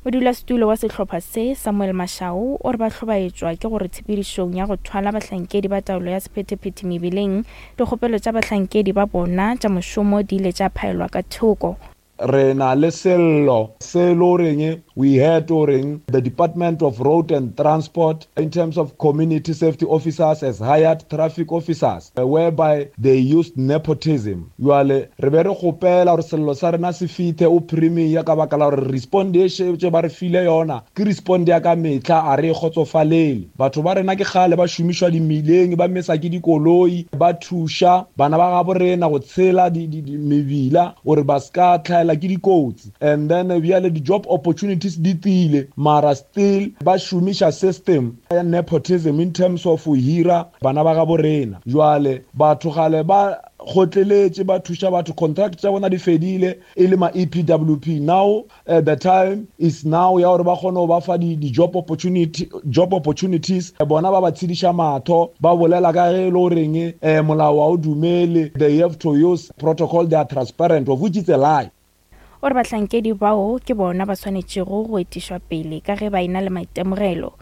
Modulasetulo wa sehlopha se, Samuel Mashau, o re ba hlobaetšwa ke gore tshepedišong ya go thwala bahlankedi ba taolo ya sephethephethe mebileng, dikgopelo tša bahlankedi ba bona tša mošomo di ile tša phaelwa ka thoko. Re na le sello se e le goreng we heard goreng the Department of Road and Transport in terms of community safety officers has hired traffic officers whereby they used nepotism. Jwale re be re kgopela gore sello sa rena se fithe o Premier ka baka la gore respond e šetše ba re file yona ke respond ya ka mehla a re e kgotsofalele. Batho ba rena ke kgale ba šomišwa dimileng ba mesa ke dikoloi ba thuša bana ba gabo rena go tshela mebila gore ba ska tlhaela ke dikotsi and then bjale di-job opportunities di tile mara still ba šomiša system ya nepotism in terms of go hira bana ba gabo rena. Jwale batho gale ba kgotleletše ba thuša batho contract tša bona di fedile e le ma EPWP now Uh, the time is now ya gore ba kgone go ba fa di-job opportunity, job opportunities eh, bona ba ba tshediša matho ba bolela ka ge e le goreng um molao wa o dumele they have to use protocol they are transparent of which is a lie. O re bahlankedi bao ke bona ba swanetšego go etišwa pele ka ge ba e na le maitemogelo.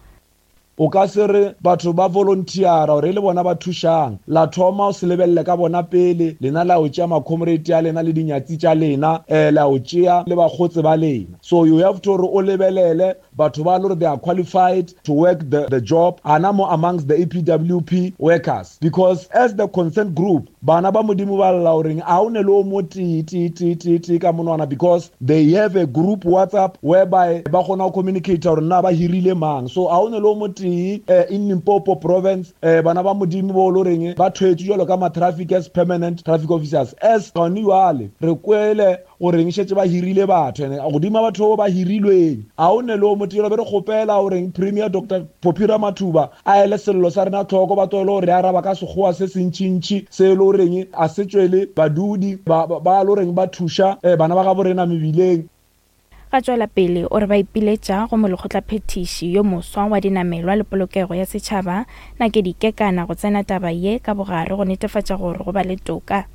O ka se re batho ba volunteera gore e le bona ba thušang. La thoma o se lebelele ka bona pele, lena la yo tšea ma-comrade a lena le dinyatsi tša lena, eh, la yo tšea le bakgotse ba lena. So you have to gore o lebelele batho ba le gore they are qualified to work the, the job, ana mo amongst the EPWP workers. Because as the concerned group, Bana ba Modimo ba lla o reng a o ne le o mo tee tee tee tee tee ka monwana because they have a group WhatsApp whereby ba kgona go communicate gore na ba hirile mang so a o ne le o mo tee eh, in Limpopo province eh, bana ba Modimo bo lo reng ba thwetše jalo ka ma traffic as permanent traffic officers as gone jwale re kwele O reng šetše ba hirile batho ene godima batho ba hirilweng a o ne le o motee be re kgopela o reng Premier Doctor Phophi Ramathuba a ele sello sa rena tlhoko ba tlohele go re araba ka sekgowa se sentšintši se e le goreng a se tšwele badudi ba ba le goreng ba thuša bana ba gabo rena mebileng. Ga tšwela pele o re ba ipiletša go molekgotlaphethiši yo moswa wa dinamelwa le polokego ya setšhaba Nakedi Kekana go tsena taba ye ka bogare go netefatša gore go ba le toka.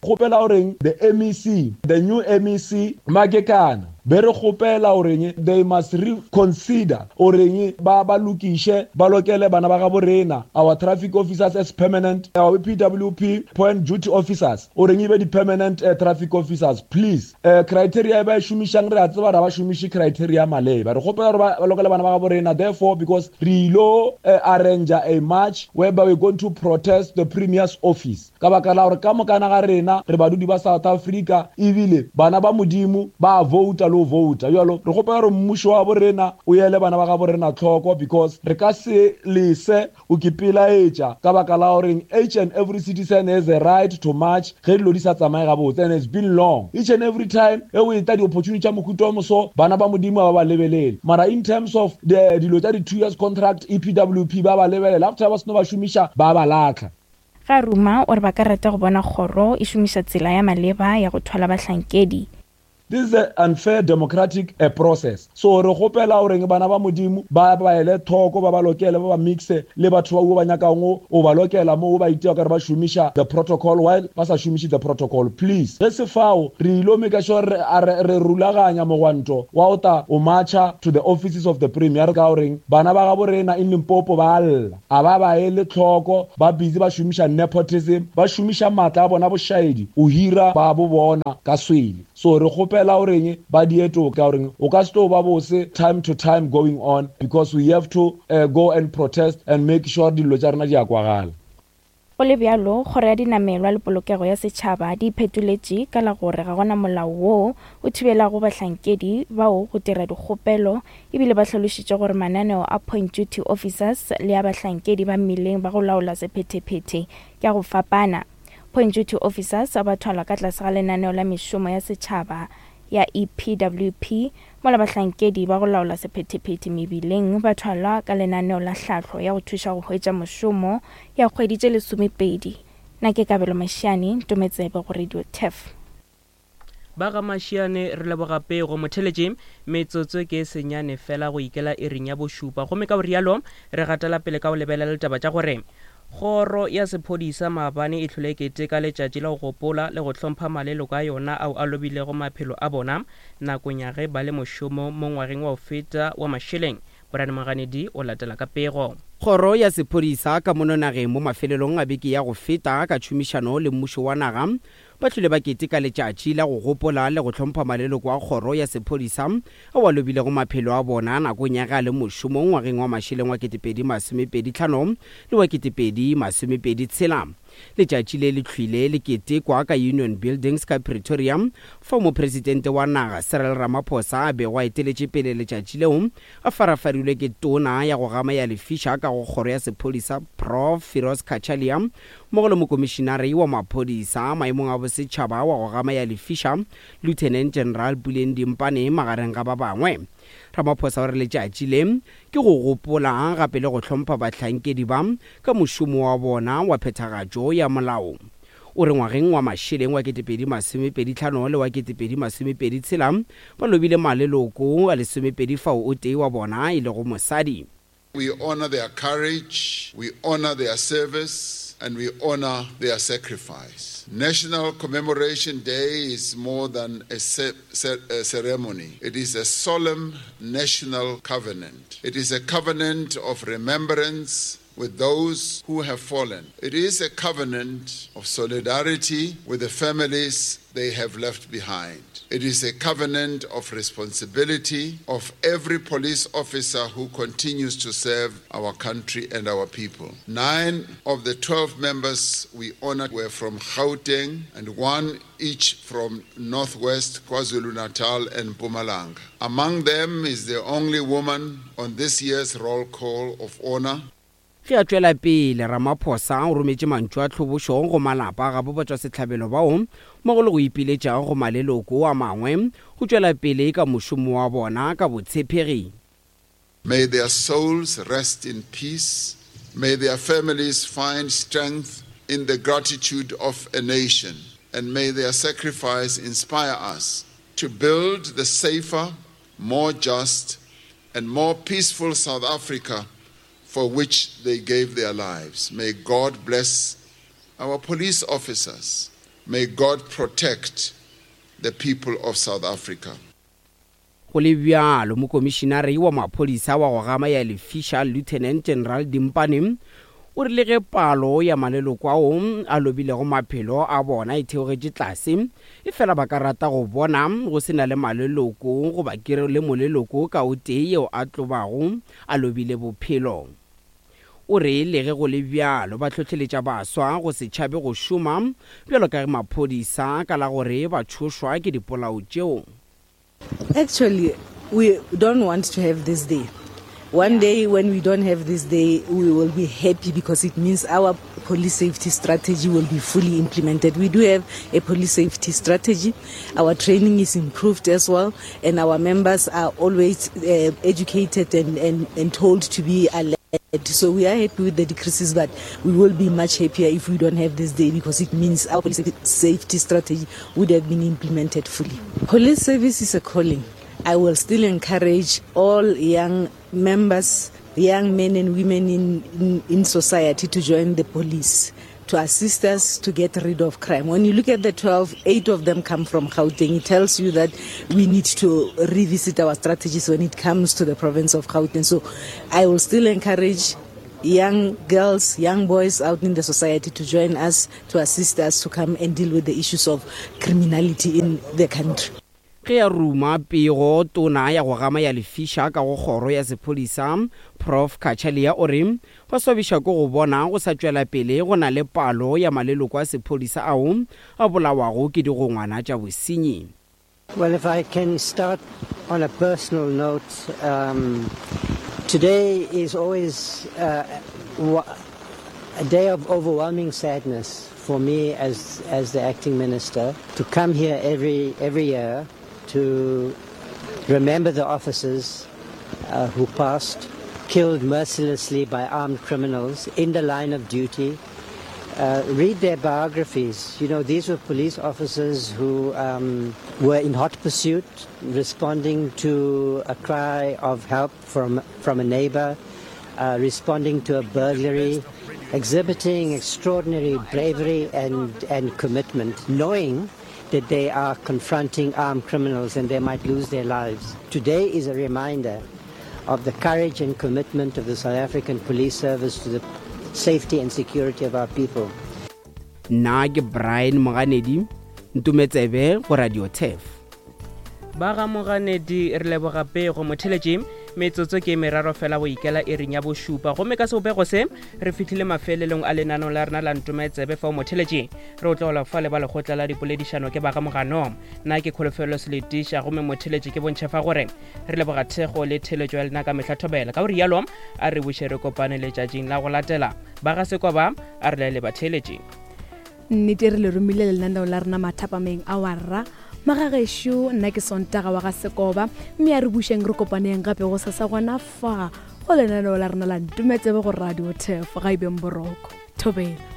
Kgopela o reng the MEC, the new MEC Makekana, be re kgopela o reng they must reconsider o reng ba ba lokiše ba lokele bana ba gabo rena our traffic officers as permanent our PWP point duty officers o reng e be di permanent uh, traffic officers please uh, criteria e ba e šomišang re a tseba ra ba šomiše criteria maleba re kgopela gore ba lokele bana ba gabo rena therefore because re ilo uh, arrange a march whereby we're going to protest the premier's office Ka baka la gore ka mokana ga rena re badudi ba South Africa ebile bana ba Modimo ba a vouta le go vouta. Bjalo re kgopela gore mmušo wa bo rena o ele bana ba gabo rena tlhoko because re ka se lese o ke pelaetša ka baka la goreng each and every citizen has a right to march ge dilo di sa tsamaye gabotse and it's been long each and every time e o etla di-opportunity tša mohuta o moso bana ba Modimo ga ba ba lebelele mara in terms of the dilo tša di-two years contract EPWP ba ba lebelela after ba seno ba šomiša ba ba latlha. Ga ruma o re ba ka rata go bona kgoro e šomiša tsela ya maleba ya go thwala bahlankedi. This is a unfair democratic a process. So re kgopela goreng bana ba Modimo ba ba ele thoko, ba ba lokele, ba ba mixe le batho ba wo ba nyakang o ba lokela mo ba itia kare ba šomiša the protocol while ba sa šomiše the protocol. Please, ge se fao re ilo make sure re a re re rulaganya mogwanto wa o ta o marcha to the offices of the premier ka goreng bana ba gabo rena in Limpopo ba lla. A ba ba ele tlhoko, ba busy ba šomiša nepotism, ba šomiša maatla a bona bošaedi o hira ba bo bona ka swele. So re kgopela goreng ba die toka goreng o ka se tlo ba bose time to time going on because we have to uh, go and protest and make sure dillo tša rena di a kwagala. Go le bjalo, Kgoro ya Dinamelwa le Polokego ya Setšhaba di iphetoletše ka la gore ga go na molao woo o thibelago bahlankedi bao go dira dikgopelo ebile ba hlalošitše gore mananeo a Point Duty Officers le a bahlankedi ba mmileng ba go laola sephethephethe ke a go fapana. Point Duty Officers ba thwalwa ka tlase ga lenaneo la mešomo ya setšhaba ya EPWP, mola bahlankedi ba go laola sephethephethe mebileng ba thwalwa ka lenaneo la hlahlo ya go thuša go hwetša mošomo ya kgwedi tše lesomepedi. Na ke Kabelo Mashiane, Ntometsebe go Radio Turf. Ba ga Mashiane re leboga pego. Motheletši, metsotso ke e senyane fela go ikela iring ya bošupa gomme ka go rialo re gatela pele ka go lebelela ditaba tša gore Kgoro ya sephodisa maabane e hlole e keteka letšatši la go gopola le go hlompha maleloko a yona ao a lobilego maphelo a bona nakong ya ge ba le mošomong mo ngwageng wa go feta wa mašeleng. Brian Moganedi o latela ka pego. Kgoro ya sephodisa ka mono nageng mo mafelelong a beke ya go feta ka tšhomišano le mmušo wa naga Ba hlwile ba keteka letšatši la go gopola le go hlompha maleloko a kgoro ya sephodisa ao a lobilego maphelo a bona nakong ya ge a le mošomong ngwageng wa mašeleng wa 2025 le wa 2026. Letšatši le le hlwile le ketekwa ka Union Buildings ka Pretoria fao Mopresidente wa naga Cyril Ramaphosa a bego a eteletše pele letšatši leo a farafarilwe ke Tona ya go gama ya lefiša ka go kgoro ya sephodisa Prof Firoz Cachalia mmogo le Mokomišinare wa Maphodisa maemong a Bosetšhaba wa go gama ya lefiša, Lieutenant General Puleng Dimpane, magareng ga ba bangwe. Ramaphosa o re letšatši le ke go gopola gape le go hlompha bahlankedi ba ka mošomo wa bona wa phethagatšo ya molao. O re ngwageng wa mašeleng wa 2025 le wa 2026 ba lobile maleloko a lesomepedi fao o tee wa bona e lego mosadi. We honor their courage, we honor their service, and we honor their sacrifice. National Commemoration Day is more than a, ce a ceremony. It is a solemn national covenant. It is a covenant of remembrance with those who have fallen. It is a covenant of solidarity with the families they have left behind. It is a covenant of responsibility of every police officer who continues to serve our country and our people. Nine of the 12 members we honored were from Gauteng and one each from Northwest, KwaZulu-Natal and Mpumalanga. Among them is the only woman on this year's roll call of honor. Ge a tšwela pele, Ramaphosa o rometše mantšu a tlhobošo go malapa a gabo batšwasehlabelo bao mmogo le go ipiletša go maleloko a mangwe go tšwela pele ka mošomo wa bona ka botshepegi. May their souls rest in peace. May their families find strength in the gratitude of a nation. And may their sacrifice inspire us to build the safer, more just, and more peaceful South Africa for which they gave their lives. May God bless our police officers. May God protect the people of South Africa. Go le bjalo, Mokomišinare wa Maphodisa wa go gama ya lefiša, Lieutenant General Dimpane, o rile ge palo ya maleloko ao a lobilego maphelo a bona e theogetše tlase, efela ba ka rata go bona go se na le maleloko goba ke re le moleloko ka o tee yeo a tlobago a lobile bophelo. O re le ge go le bjalo ba hlohleletša baswa go se tšhabe go šoma bjalo ka ge maphodisa ka la gore ba tšhošwa ke dipolao tšeo. Actually, we don't want to have this day. One day when we don't have this day, we will be happy because it means our police safety strategy will be fully implemented. We do have a police safety strategy. Our training is improved as well, and our members are always uh, educated and, and, and told to be alert. So we are happy with the decreases, but we will be much happier if we don't have this day because it means our police safety strategy would have been implemented fully. Police service is a calling. I will still encourage all young members, young men and women in, in, in society to join the police to assist us to get rid of crime. When you look at the 12, eight of them come from Gauteng. It tells you that we need to revisit our strategies when it comes to the province of Gauteng. So I will still encourage young girls, young boys out in the society to join us, to assist us to come and deal with the issues of criminality in the country. Ge a ruma pego, Tona ya go gama ya lefiša ka go Kgoro ya Sephodisa, Prof Cachalia o re ba swabiša ke go bona go sa tšwela pele go na le palo ya maleloko a sephodisa ao a bolawago ke digongwana tša bosenyi. Well, if I can start on a personal note, um, today is always uh, a day of overwhelming sadness for me as, as the acting minister to come here every, every year to remember the officers uh, who passed, killed mercilessly by armed criminals in the line of duty. Uh, read their biographies. You know, these were police officers who um, were in hot pursuit, responding to a cry of help from, from a neighbor, uh, responding to a burglary, exhibiting extraordinary bravery and, and commitment, knowing that they are confronting armed criminals and they might lose their lives. Today is a reminder of the courage and commitment of the South African Police Service to the safety and security of our people. Nna ke Brian Moganedi, Ntumetsebe go Radio Turf. Ba ga Moganedi re leboga pego motheletši metsotso ke meraro fela go ikela iring ya bošupa gomme ka sebopego se re fihlile mafelelong a lenaneo la rena la ntometsebe fao motheletši re o tlogelwa fa le ba lekgotla la dipoledišano ke ba ga mogano nna ke kholofelo seletiša gomme motheletši ke bontšha fa gore re leboga thekgo le theletšo ya lena ka mehla thobela ka go rialo a re buše re kopane letšatšing la go latela ba ga sekoba a re laele batheeletši Nnete re le romile lenaneo la rena mathapameng a warra. Magagešo, nna ke Sontaga wa ga Sekoba, mme a re bušeng re kopaneng gape go sasa gona fa go lenaneo la rena la Ntumetsebe go Radio Turf. Ga e beng boroko. Thobela.